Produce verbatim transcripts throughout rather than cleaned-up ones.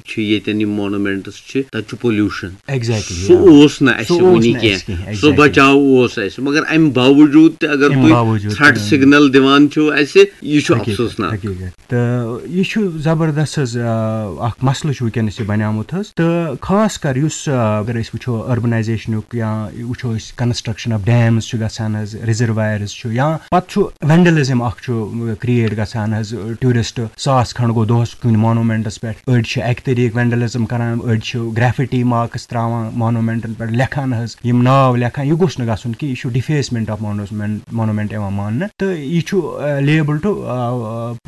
چھِ ییٚتٮ۪ن یِم مانومینٹس چھِ، تَتہِ چھُ پولیوشن۔ ایگزیکٹلی سُہ اوس نہٕ اَسہِ وُنہِ کینٛہہ۔ سُہ بچاو اوس اَسہِ، مگر اَمہِ باوجوٗد تہِ اگر تُہۍ ژھرٹ سگنل دِوان چھِو اَسہِ، یہِ چھُ افسوسناک۔ تہٕ یہِ چھُ زبردست حظ، آ، اکھ مسلہٕ چھُ وٕنکیٚنس یہِ بنیومُت حظ۔ تہٕ خاص کر یُس، آ، اگر أسۍ وٕچھو اربنایزیشنُک یا وٕچھو أسۍ کنسٹرکشن آف ڈیمز چھُ گژھان حظ، ریزروایرز چھُ، یا پتہٕ چھُ وینڈلزم اکھ چھُ کریٹ گژھان حظ۔ ٹوٗرسٹ ساس کھنڈ گوٚو دۄہس کُنہِ مانومینٹس پٮ۪ٹھ، أڑۍ چھِ اکہِ طریٖقہٕ وینڈلزم کران، أڑۍ چھِ گریفٹی مارکس تراوان مانومینٹن پٮ۪ٹھ، لیکھان حظ یِم ناو لیکھان۔ یہِ گوٚژھ نہٕ گژھُن کہِ یہِ چھُ ڈِفیسمنٹ آف مانومینٹ یِوان ماننہٕ، تہٕ یہِ چھُ لیبل ٹو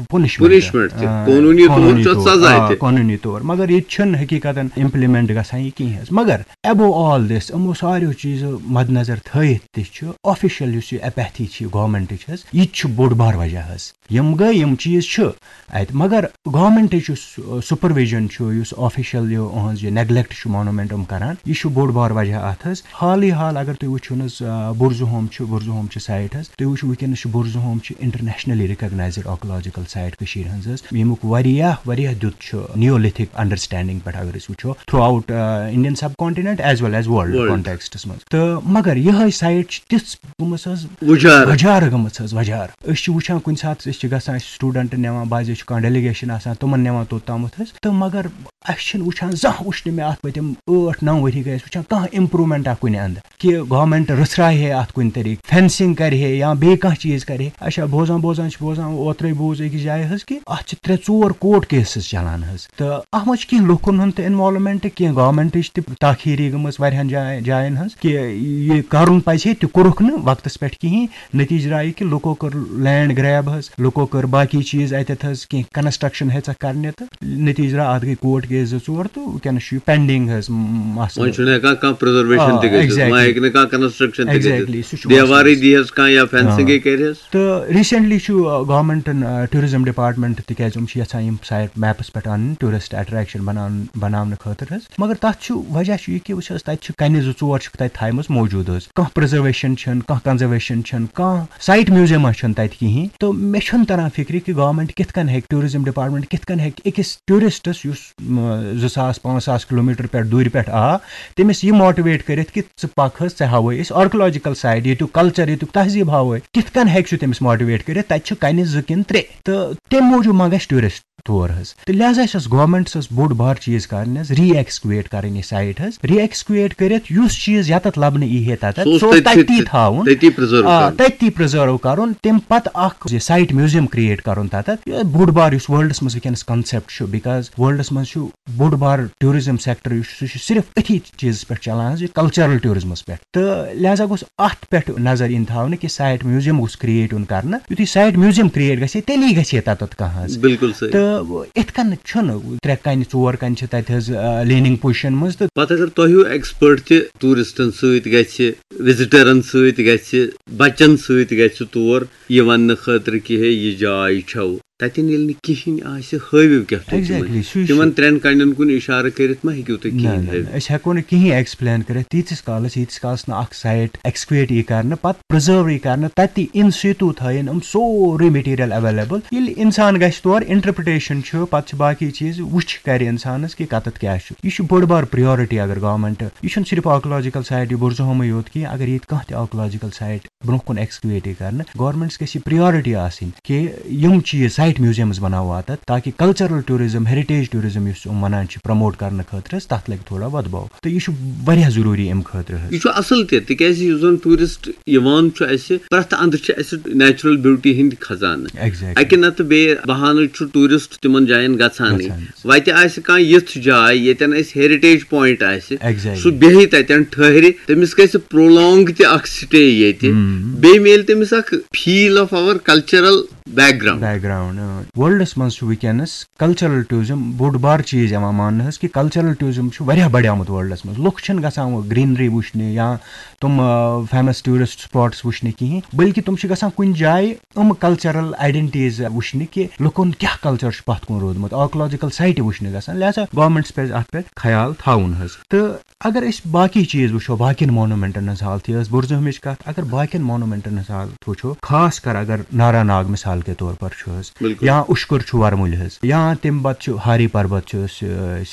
پنشمنٹ۔ پنشمنٹ تہِ، قونوٗنی طور چھُ اَتھ سزا تہِ۔ قونوٗنی طور، مگر ییٚتہِ چھُنہٕ حقیٖقتن امپلمنٹ گژھان یہِ کِہیٖنۍ حظ۔ مگر ابو آل دِس، یِمو ساروِیو چیٖزو مد نظر تھٲیِتھ تہِ چھُ آفیشل یُس یہِ اپیتھی چھِ گورمنٹٕچ حظ، یہِ تہِ چھُ بوٚڑ بار وجہ حظ۔ یِم گٔے، یِم چیٖز چھِ اتہِ، مگر گورمنٹٕچ یُس سپرویژن چھُ، یُس آفیشل یہِ اُہنٛز یہِ نیگلیکٹ چھُ مانومینٹ یِم کران، یہِ چھُ بوٚڑ بار وجہ اتھ حظ۔ حالٕے حال اگر تُہۍ وٕچھِو نہٕ حظ، آ، بُرزُہوم چھُ، بُرزُہوم چھِ سایٹ حظ، تُہۍ وٕچھِو وٕنکیٚنس چھُ بُرزُہوم چھُ انٹرنیشنلی ریکگنایزڈ آرکولوجیکل سایٹ کٔشیٖرِ ہٕنٛز حظ، ییٚمیُک واریاہ واریاہ دیُت چھُ نیولتھک انڈرسٹینڈنگ پٮ۪ٹھ اگر أسۍ وٕچھو تھرو آوٹ انڈین سب کانٹیننٹ ایز ویل ایز ورلڈ کانٹیکسٹس منٛز۔ تہٕ مگر یِہے سایٹ چھِ تِژھ گٔمٕژ حظ، وُجارٕ۔ وُجارٕ گٔمٕژ حظ، وُجارٕ۔ أسۍ چھِ وٕچھان کُنہِ ساتہٕ، أسۍ چھِ گژھان، أسۍ چھِ سٹوڈنٹ نِوان، بعضے چھُ کانٛہہ ڈیلیگیشن آسان، تِمن نِوان توٚتامَتھ حظ۔ تہٕ مگر اَسہِ چھِنہٕ وٕچھان زانٛہہ، وٕچھ نہٕ مےٚ اَتھ پٔتِم ٲٹھ نَو ؤری گٔے اَسہِ وٕچھان کانٛہہ امپرومنٹا کُنہِ اندٕ، کہِ گورمنٹ رٕژھراے ہے اَتھ کُنہِ طریٖقہٕ، فینسنگ کرِ ہے یا بیٚیہِ کانٛہہ چیٖز کرِ ہے۔ اچھا، بوزان بوزان چھِ بوزان، اوترے بوٗز أکِس جایہِ حظ کہِ اَتھ چھِ ترٛےٚ ژور کورٹ کیسز چلان حظ۔ تہٕ اَتھ منٛز چھِ کینٛہہ لُکن ہُنٛد تہِ انوالومنٹ، کینٛہہ گورمنٹٕچ تہِ تاخیٖری گٔمٕژ واریاہن جاین، جاین ہٕنٛز، کہِ یہِ کرُن پزِ ہے، تہِ کوٚرُکھ نہٕ وقتس پٮ۪ٹھ کِہینۍ۔ نتیجہٕ درٛاو یہِ کہِ لُکو کٔر لینڈ گریب حظ، لُکو کٔر باقی چیٖز اتٮ۪تھ حظ، کینٛہہ کنسٹرکشن ہیژکھ کرنہِ، تہٕ نتیجہٕ درٛاو اتھ گٔے کورٹ کیس زٕ ژور، تہٕ وٕنکیٚنس چھُ یہِ پینڈنگ حظ مسلہٕ۔ وۄنۍ چھُنہٕ ہٮ۪کان کانٛہہ پرزرویشن آ، تہِ گٔژھِتھ، exactly۔ وۄنۍ ہیٚکہِ نہٕ کانٛہہ کنسٹرکشن تہِ exactly، گٔژھِتھ۔ سُہ چھُ دیوارٕے مسلہٕ۔ دی حظ کانٛہہ یا فینسنگٕے آ۔ کرِ حظ۔ تہٕ ریسنٹلی چھُ، آ، گورمنٹن، آ، ٹوٗرزم ڈپارٹمنٹ، تِکیازِ یِم چھِ یژھان یِم سایٹ میپس پٮ۪ٹھ انٕنۍ، ٹوٗرسٹ اٹریکشن بناونہٕ بناونہٕ خٲطرٕ حظ۔ مگر تتھ چھُ وجہ چھُ یہِ کہِ وٕچھ حظ، تتہِ چھِ کنہِ زٕ ژور چھِکھ تتہِ تھایمٕژ موجود حظ۔ کانٛہہ پرزرویشن چھنہٕ، کانٛہہ کنزرویشن چھنہٕ، کانٛہہ سایٹ میوزیما چھنہٕ تتہِ کِہینۍ۔ تہٕ مےٚ چھُنہٕ تران فکرِ کہِ گورمنٹ کِتھ کٔنۍ ہیٚکہِ، ٹوٗرزم ڈپارٹمنٹ کِتھ کٔنۍ ہیٚکہِ أکِس ٹوٗرسٹس، یُس، م، زٕ ساس پانٛژھ ساس کلوٗمیٹر پٮ۪ٹھ دوٗرِ پٮ۪ٹھ آ، تٔمِس یہِ موٹیویٹ کٔرِتھ کہِ ژٕ پکھ حظ، ژےٚ ہاوے أسۍ آرکولوجیکل سایٹ، ییٚتیُک کلچر، ییٚتیُک تہذیب ہاوے۔ کِتھ کٔنۍ ہیٚکہِ سُہ تٔمِس موٹیویٹ کٔرِتھ؟ تتہِ چھِ کنہِ زٕ کِنہٕ ترٛےٚ۔ تہٕ تمہِ موٗجوٗب ما گژھِ ٹوٗرسٹ تور حظ؟ تہٕ لہذا چھِ اَسہِ گورمنٹس بوٚڑ بار چیٖز کرٕنۍ حظ، ری ایکسکویٹ کرٕنۍ یہِ سایٹ حظ، ری ایکسکویٹ کٔرِتھ یُس چیٖز یتتھ لبنہٕ یی ہے تتتھ، سُہ اوس سُہ اوس تٔتھی، تٔتی تھاوُن۔ تٔتی پرزرو آ، کرُن۔ تٔتی پرزرو کرُن، تمہِ پتہٕ اکھ یہِ سایٹ میوزیم کریٹ کرُن تتتھ۔ یہِ بوٚڑ بار یُس ورلڈس منٛز وٕنکیٚنس کنسپٹ چھُ، بِکاز ورلڈس منٛز چھُ بوٚڑ بار ٹوٗرزم سیکٹر یُس چھُ، سُہ چھُ صرف أتھی چیٖزس پٮ۪ٹھ چلان حظ، یہِ کلچرل ٹوٗرزمس پٮ۪ٹھ۔ تہٕ لہذا گوٚژھ اتھ پٮ۪ٹھ نظر یِنہٕ تھاونہٕ کہِ سایٹ میوزیم گوٚژھ کریٹ یُن کرنہٕ۔ یُتھُے سایٹ میوزیم کریٹ گژھِ، تیٚلی گژھِ ہے تتتھ کانٛہہ حظ۔ بِلکُل صحیح۔ تہٕ اِتھ کٔنۍ چھُنہٕ ترٛےٚ کنہِ، ژور کنہِ چھِ تتہِ حظ، آ، لیننگ پوزیشن منٛز۔ تہٕ پتہٕ اگر تۄہہِ ہیوٗ ایکسپٲرٹ تہِ ٹوٗرسٹن سۭتۍ گژھِ، وزٹرن سۭتۍ گژھِ، بچن سۭتۍ گژھِ تور یہِ وننہٕ خٲطرٕ کہِ ہے، یہِ جاے چھو، تتٮ۪ن ییٚلہِ نہٕ کِہینۍ آسہِ، ہٲوِو کیٛاہ تُہۍ تِمن؟ Exactly، سُے چھُ۔ تِمن ترٛٮ۪ن کنٮ۪ن کُن اشارٕ کٔرِتھ ما ہیٚکِو تُہۍ نہ، کِہینۍ نہ، ہٲوِتھ؟ نہ، أسۍ ہٮ۪کو نہٕ کِہینۍ ایکسپلین کٔرِتھ، تیٖتِس کالس، ییٖتِس کالس نہٕ اکھ سایٹ ایکسکویٹ یی کرنہٕ، پتہٕ پرزٲرو یی کرنہٕ، تتہِ ان سیتو تھٲیِن یِم سورُے مٹیریل اویلیبل۔ ییٚلہِ انسان گژھِ تور، انٹرپریٹیشن چھُ، پتہٕ چھِ باقی چیٖز، وٕچھ کرِ انسانس کہِ کتتھ کیٛاہ چھُ۔ یہِ چھُ بٔڑ بار پریورٹی اگر گورمنٹ، یہِ چھُنہٕ صرف آرکولوجیکل سایٹ، یہِ بُرزُہومٕے یوت کینٛہہ، اگر ییٚتہِ کانٛہہ تہِ آرکولوجیکل سایٹ برونٛہہ کُن ایکسکویٹ یی کرنہٕ، گورمنٹس گژھِ یہِ پریورٹی آسٕنۍ کہِ یِم چیٖز، سایٹ میوزیمز بناوو اتتھ، تاکہِ کلچرل ٹوٗرزم، ہیریٹیج ٹوٗرزم یُس یِم ونان چھِ پروموٹ کرنہٕ خٲطرٕ حظ، تتھ لگہِ تھوڑا ودباو۔ تہٕ یہِ چھُ واریاہ ضروٗری امہِ خٲطرٕ حظ۔ یہِ چھُ اصل تہِ، تِکیازِ یُس زن ٹوٗرسٹ یِوان چھُ اسہِ، پرٛٮ۪تھ اندٕ چھِ اسہِ نیچرل بیوٹی ہٕنٛدۍ خزانہٕ۔ Exactly۔ اکہِ نتہٕ بیٚیہِ بہانہٕ چھُ ٹوٗرسٹ تِمن جاین گژھانٕے۔ گژھان۔ وتہِ آسہِ کانٛہہ یِژھ جاے ییٚتٮ۪ن اسہِ ہیریٹیج پوینٹ آسہِ، Exactly۔ سُہ بیٚہہِ تتٮ۪ن ٹھہرِ، تٔمِس گژھِ پرولونگ تہِ اکھ سٹے ییٚتہِ۔ مم۔ بیٚیہِ میلہِ تٔمِس اکھ feel of our cultural background. Background, اۭں۔ ورلڈس منٛز چھُ وٕنکیٚنس کلچرل ٹوٗرزم بوٚڑ بار چیٖز یِوان ماننہٕ حظ، کہِ کلچرل ٹوٗرزم چھُ واریاہ بڑیومُت ورلڈس منٛز۔ لُکھ چھِنہٕ گژھان وۄنۍ گرینری وٕچھنہِ یا تِم، آ، فیمس ٹوٗرسٹ سپاٹس وٕچھنہِ کِہینۍ، بلکہِ تِم چھِ گژھان کُنہِ جایہِ یِم کلچرل آیڈنٹیز وٕچھنہِ کہِ لُکن کیٛاہ کلچر چھُ پتھ کُن روٗدمُت، آرکولوجیکل سایٹہِ وٕچھنہِ گژھان۔ لہذا گورمنٹس پزِ اتھ پٮ۪ٹھ خیال تھاوُن حظ۔ تہٕ اگر أسۍ باقی چیٖز وٕچھو، باقین مونومنٹن ہٕنٛز حالت، یہِ ٲس بُرزہمِچ کتھ، اگر باقین مونومنٹن ہٕنٛز حالت وٕچھو، خاص کر اگر نارا ناگ مثال مثال کے طور پر چھُ حظ، بالکل۔ یا اُشکُر چھُ ورمُلہِ حظ، یا تَمہِ پتہٕ چھُ ہاری پربت چھُ أسۍ، أسۍ